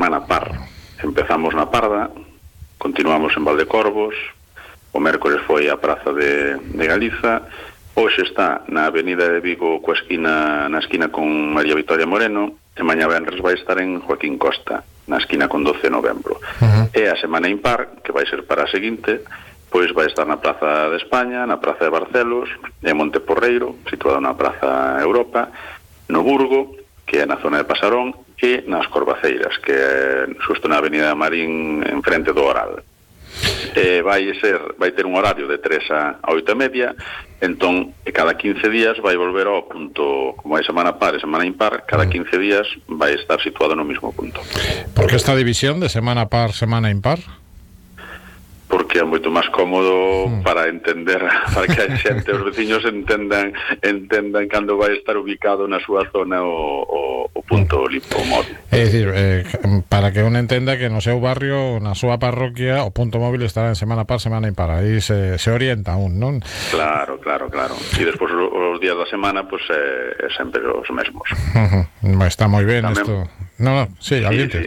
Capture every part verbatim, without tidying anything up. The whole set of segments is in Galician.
semana par. Empezamos na Parda, continuamos en Valdecorvos, o mércores foi a Praza de, de Galiza, hoxe está na Avenida de Vigo coa esquina, na esquina con María Victoria Moreno, e mañá venres vai estar en Joaquín Costa, na esquina con doce de novembro. Uh-huh. E a semana impar, que vai ser para a seguinte, pois vai estar na Praza de España, na Praza de Barcelos, en Monteporreiro, situado na Praza Europa, no Burgo, que é na zona de Pasarón, e nas Corvaceiras, que é xusto na Avenida Marín, en frente do Oral. Eh, vai ser, vai ter un horario de tres a oito e media, entón, cada quince días vai volver ao punto, como hai semana par e semana impar, cada quince días vai estar situado no mismo punto. Por que esta división de semana par, semana impar? Porque é moito máis cómodo mm. para entender, para que a xente, os veciños entendan entendan cando vai estar ubicado na súa zona o, o, o punto mm. limpo móvil. É dicir, eh, para que un entenda que no seu barrio, na súa parroquia, o punto móvil estará en semana par, semana impar, aí se, se orienta un, non? Claro, claro, claro. E despois os días da semana, pois pues, é, é sempre os mesmos. Uh-huh. Está moi ben isto. No, no, sí, sí, sí.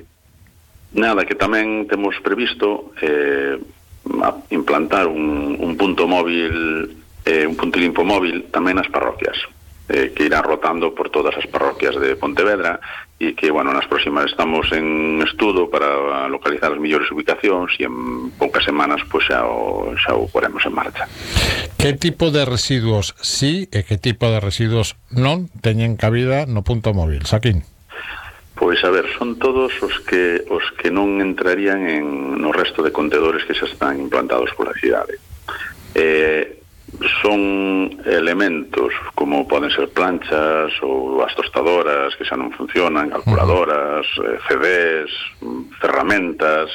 Nada, que tamén temos previsto eh, a implantar un, un punto móvil, eh, un punto limpo móvil tamén nas parroquias, eh, que irá rotando por todas as parroquias de Pontevedra, e que, bueno, nas próximas estamos en estudo para localizar as mellores ubicacións, e en poucas semanas pois xa o, xa o poremos en marcha. Que tipo de residuos sí e que tipo de residuos non teñen cabida no punto móvil, Saquín? Pois, a ver, son todos os que os que non entrarían en no resto de contedores que xa están implantados pola cidade. Eh, son elementos como poden ser planchas ou as tostadoras que xa non funcionan, calculadoras, eh, C Ds, ferramentas,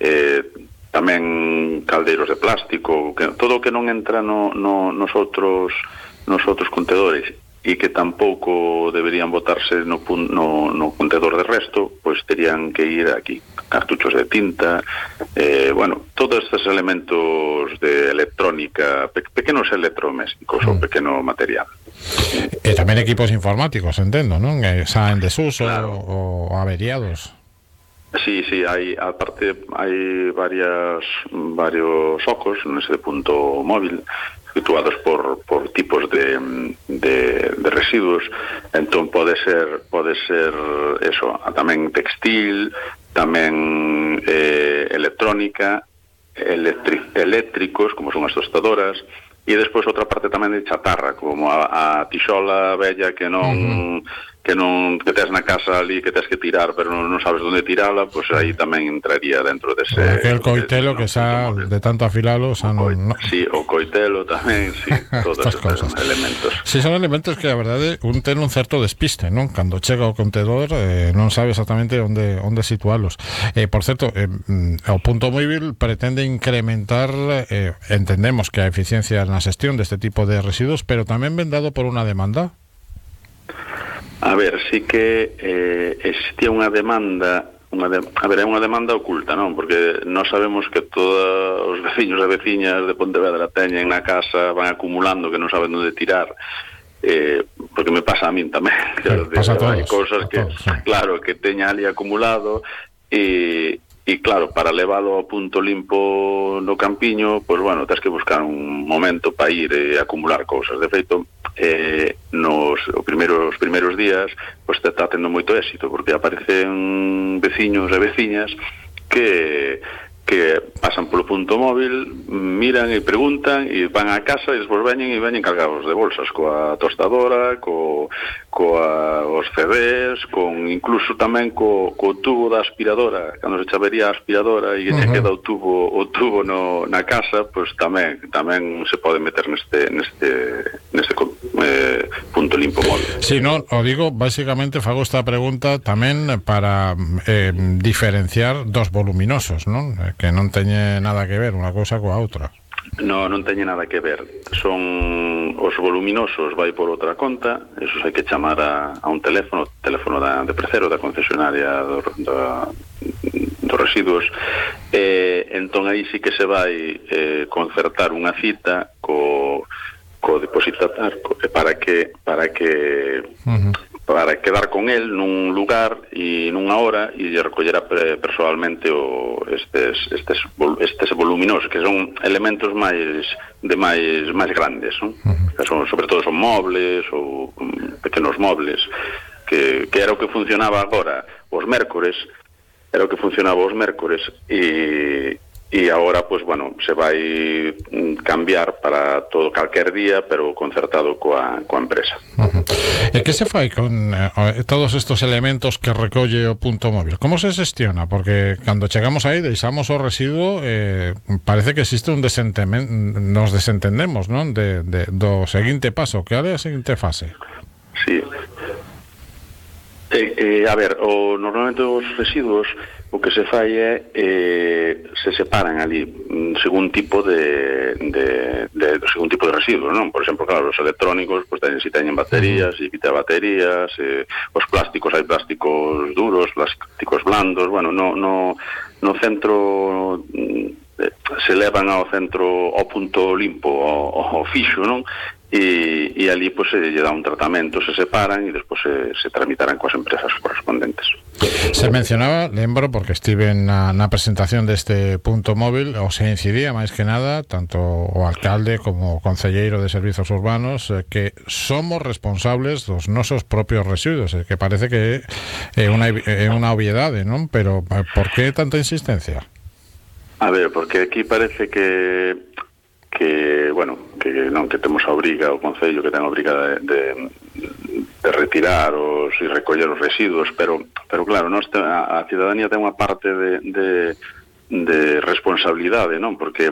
eh, tamén caldeiros de plástico, que, todo o que non entra no, no, nos, outros, nos outros contedores e que tampouco deberían botarse no, no, no contedor de resto, pois terían que ir aquí, cartuchos de tinta, eh, bueno, todos estes elementos de electrónica, pe pequenos electrodomésticos mm. ou pequeno material. E tamén equipos informáticos, entendo, non? Que xa en desuso, claro, ou averiados. Sí, sí, hai, aparte, hai varias, varios focos nese punto móvil, situados por, por tipos de, de, de residuos, entón pode ser pode ser eso, tamén textil, tamén eh, electrónica, electri eléctricos, como son as tostadoras, e despois outra parte tamén de chatarra, como a, a tixola bella que non uh-huh. que non que tes na casa ali, que tes que tirar pero non, non sabes onde tirala, pois pues aí tamén entraría dentro dese... Aquel coitelo de, que xa, de tanto afilalo, xa non... No. Sí, o coitelo tamén, sí, todos estes cosas. Elementos. Sí, son elementos que, a verdade, un ten un certo despiste, non? Cando chega ao contedor, eh, non sabe exactamente onde, onde situalos. Eh, por certo, eh, o punto móvil pretende incrementar, eh, entendemos que a eficiencia na xestión deste tipo de residuos, pero tamén ven dado por unha demanda. A ver, sí que eh, existía unha demanda, unha de, a ver, é unha demanda oculta, non? Porque nós sabemos que todos os veciños e veciñas de Pontevedra teñen na casa, van acumulando que non saben onde tirar, eh, porque me pasa a min tamén. Sí, pasa a todos. Hai cousas que, todos, sí. claro, que teña ali acumulado, e... E claro, para leválo ao punto limpo no campiño, pois, bueno, tens que buscar un momento para ir e acumular cousas. De feito, eh, nos os primeiros, os primeiros días, pois, te está tendo moito éxito, porque aparecen veciños e veciñas que que pasan polo punto móvil, miran e preguntan e van á casa e despois veñen e veñen cargados de bolsas coa tostadora, co, coa os C Ds, con incluso tamén co, co tubo da aspiradora, cando se chavería a aspiradora e uh-huh. se queda o tubo o tubo no, na casa, pois tamén tamén se pode meter neste neste neste eh, punto limpo móvil. Si, sí, non, o digo, basicamente fago esta pregunta tamén para eh, diferenciar dos voluminosos, non? Que non teñe nada que ver unha cousa coa outra. No, non teñe nada que ver. Son os voluminosos, vai por outra conta, esos hai que chamar a, a un teléfono, teléfono da, de Precero, da concesionaria do, da, dos residuos, e entón aí sí que se vai eh, concertar unha cita co, co depositatar co, para que para que uh-huh. para quedar con el nun lugar e nunha hora e lle recollera personalmente o estes, estes, estes voluminosos, que son elementos máis de máis máis grandes, non? Uh-huh. Que son, sobre todo son mobles ou pequenos mobles, que, que era o que funcionaba agora os mércores, era o que funcionaba os mércores e e agora, pois, bueno, se vai cambiar para todo calquer día, pero concertado coa, coa empresa. Uh-huh. E que se fai con eh, todos estos elementos que recolle o punto móvil? Como se xestiona? Porque cando chegamos aí, deixamos o residuo, eh, parece que existe un desentendemos, nos desentendemos, non? De, de, do seguinte paso, que é a seguinte fase. Sí. Eh, eh, a ver, o, normalmente os residuos o que se fai é eh, se separan ali según tipo de, de, de según tipo de residuos, non? Por exemplo, claro, os electrónicos pues, ten, si teñen baterías, si quita baterías, eh, os plásticos, hai plásticos duros, plásticos blandos, bueno, no, no, no centro eh, se levan ao centro ao punto limpo, ao, ao fixo, non? E, e ali pues, se lle dá un tratamento, se separan e despois se, se tramitarán coas empresas correspondentes. Se mencionaba, lembro, porque estive na, na presentación deste punto móvil, o se incidía máis que nada tanto o alcalde como o concelleiro de servizos urbanos eh, que somos responsables dos nosos propios residuos, eh, que parece que é unha, é unha obviedade, non? Pero por que tanta insistencia? A ver, porque aquí parece que que, bueno, que non que temos a obriga, o Concello que ten a obriga de, de, de retirar os e recoller os residuos, pero, pero claro, nós te, a, a cidadanía ten unha parte de, de, de responsabilidade, non? Porque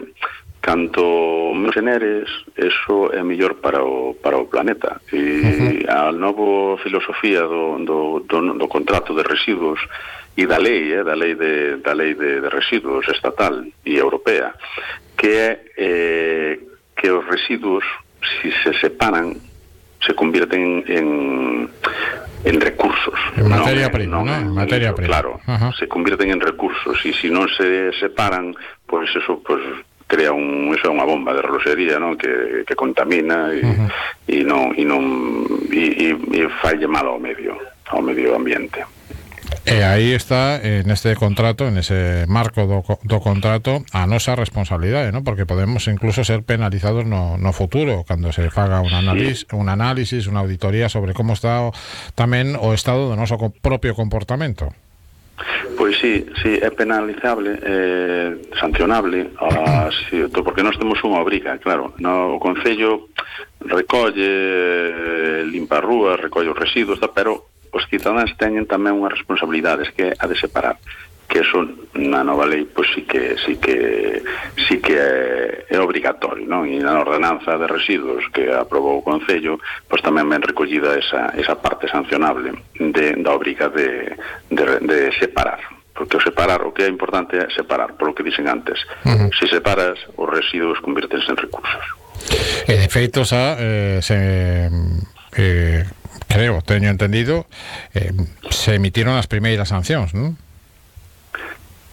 canto menos generes, eso é mellor para o, para o planeta. E uh-huh. a nova filosofía do, do, do, do contrato de residuos e da lei, eh, da lei de, da lei de, de residuos estatal e europea, que é eh, que os residuos, si se separan, se convierten en, en recursos. En materia prima, ¿no? En materia prima. Claro, uh-huh. se convierten en recursos e se si non se separan, pois pues eso pues, crea un, eso é unha bomba de reloxería, ¿no? que, que contamina e uh-huh. e non e non e, e, e falle mal ao medio, ao medio ambiente. E aí está, en este contrato, en ese marco do, do contrato, a nosa responsabilidade, ¿no? Porque podemos incluso ser penalizados no, no futuro, cando se faga un análisis, sí. un análisis, unha auditoría sobre como está o, tamén o estado do noso propio comportamento. Pois sí, sí, é penalizable, eh, sancionable, a, sí, porque nós temos unha obriga, claro, no, o Concello recolle, limpa rúas, recolle os residuos, pero os cidadáns teñen tamén unha responsabilidade, que é a de separar, que eso na nova lei pois sí que sí que sí que é, é obrigatorio, non? E na ordenanza de residuos que aprobou o Concello, pois tamén ben recollida esa esa parte sancionable de da obriga de de, de separar. Porque o separar, o que é importante é separar, polo que dixen antes. Uh-huh. Se separas, os residuos convírtense en recursos. E de feito xa eh, se eh, creo, teño entendido, eh, se emitiron as primeiras sancións, non?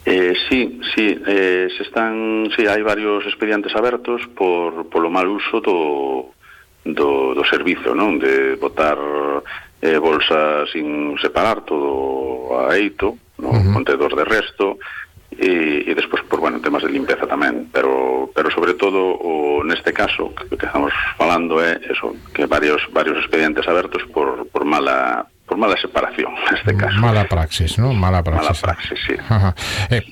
Eh, sí, sí, eh, se están, sí, hai varios expedientes abertos por polo mal uso do do, do servizo, non? De botar eh, bolsas sin separar todo a eito, no uh-huh. contedor de resto, e, e despois, por, bueno, temas de limpeza tamén, pero pero sobre todo o, neste caso que, que estamos falando é eso, que varios varios expedientes abertos por, por mala por mala separación, neste caso. Mala praxis, non? Mala praxis. Mala praxis, sí. Ajá. Eh,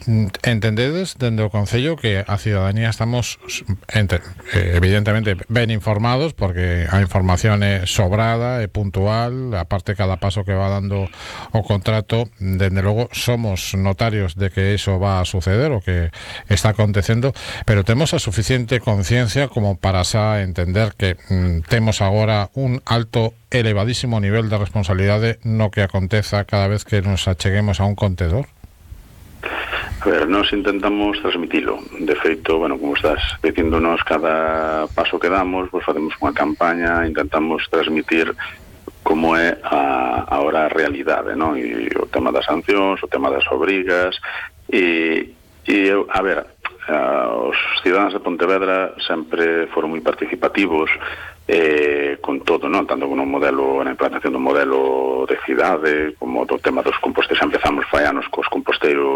entendedes dende o Concello que a cidadanía estamos ente, eh, evidentemente ben informados porque a información é sobrada e puntual, aparte cada paso que va dando o contrato, dende logo somos notarios de que eso va a suceder o que está acontecendo, pero temos a suficiente conciencia como para xa entender que mm, temos agora un alto elevadísimo nivel de responsabilidade no que aconteza cada vez que nos acheguemos a un contedor? A ver, nós intentamos transmitilo. De feito, bueno, como estás dicíndonos, cada paso que damos, pues facemos unha campaña, intentamos transmitir como é a, ahora a realidade, non? E o tema das sancións, o tema das obrigas, e, e a ver, a, os cidadáns de Pontevedra sempre foron moi participativos eh, con todo, non? Tanto con un modelo, na implantación do modelo de cidade, como do tema dos composteiros. Empezamos fai anos cos composteiros